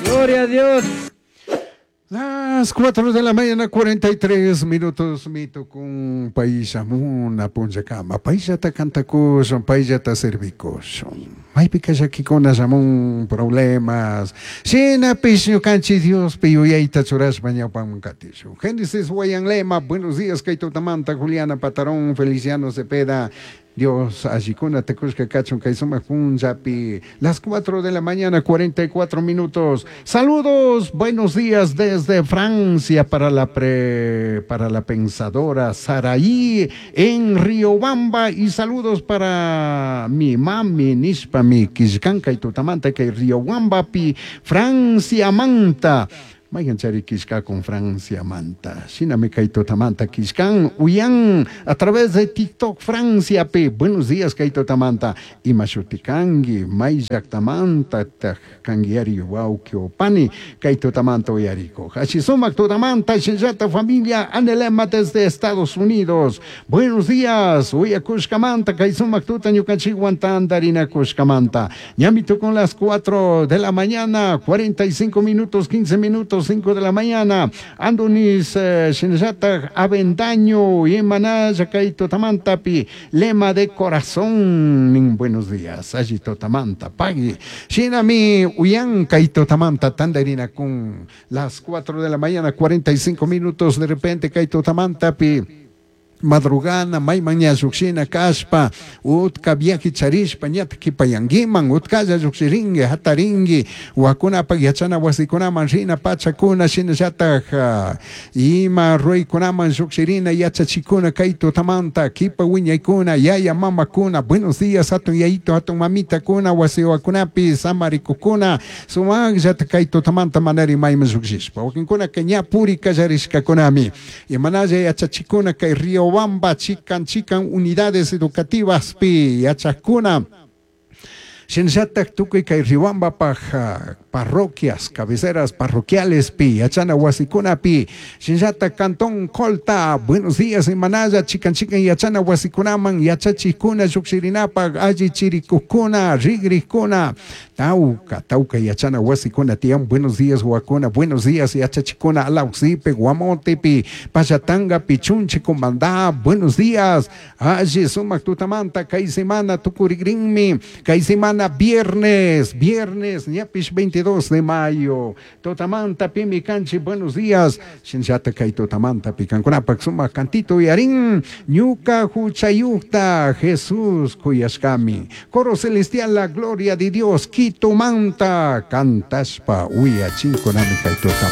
Gloria a Dios. Las 4 de la mañana, 43 minutos, mitukun payshamuna punllakama. Payllata cantakushun, payllata servikushun. Maypika llakikuna shamun problemas. Shinapish ñukanchik Diospi yuyayta churashpa ñawpaman katishun. Génesis Guayanlema, buenos días, kay tutamanta, Juliana Patarón, Feliciano Cepeda. Dios allikuna tukushka kachun kay sumak punllapi. Las 4 de la mañana, 44 minutos. Saludos, buenos días desde Francia para la para la pensadora Saraí en Riobamba y saludos para mi mami nishpa mi killkanka y tutamanta kay Riobambapi Francia manta. Mayqanchari killkakun Francia manta. Shinami kay tutamanta killkan uyan a través de TikTok Francia pi. Buenos días kay tutamanta. Ima shuti kanki may llaktamanta taj kanguiari wawqi o pani kay tutamanta uyarikuj. Ashi sumak tutamanta shinllata familia Anelema desde Estados Unidos. Buenos días uyakushkamanta kay sumak tuta ñukanchikwan tantarinakushkamanta. Ñami tukun las 4 de la mañana, 45 minutos, 15 minutos, 5 de la mañana. Andonis shinallata Avendaño imanalla kay tutamantapi lema de corazón. Buenos días, alli tutamanta pagui. Shinami uyan kay tutamanta tantarinakun las 4 de la mañana, 45 minutos de repente kay tutamantapi. Madrugana, mayman ña llukshina kashpa, utka viaje charishpa, ñata kipayanguiman, utkalla llukshirinki, hatarinki, wakunapak yachana wasikunaman rina pachakuna, shinallatak ima ruraykunaman llukshirina yachachikuna kay tutamanta, kipa wiñaykuna, yaya mamakuna, buenos días, hatun yayito, hatun mamitakuna, wasiwakunapi, samarikukuna, sumaqllata kay tutamanta manari mayman llukshishpa, wakinkunaka ña puri kallarishkakunami, imanalla yachachikuna kay Riobamba, chikan chikan unidades educativas pi yachakuna. Shinallatak tukuy kay Riobambapaj parroquias, cabeceras parroquiales pi, yachana wasikunapi, shinallatak Cantón Colta, buenos días imanalla, chikan chikan yachana wasikunaman, yachachikuna llukshirinapaj, alli chirikukuna, rigrikuna, tauka, tauka yachana wasikuna tiyan, buenos días wakuna, buenos días yachachikuna, Alausipe, Guamotepi, Payatangapi, Chunche, Comandá, buenos días, alli sumak tutamanta, kay semana tukurigrinmi, kay semana viernes, viernes, ñapish 22 de mayo, tutamanta pimi kanchi, buenos días, shinllata kay tutamanta pikankunapak sumak cantito yarin, ñuka huchayukta, Jesús kuyashkami, coro celestial, la gloria de Dios, Quito manta, cantashpa uyachinkunami kay tutamanta.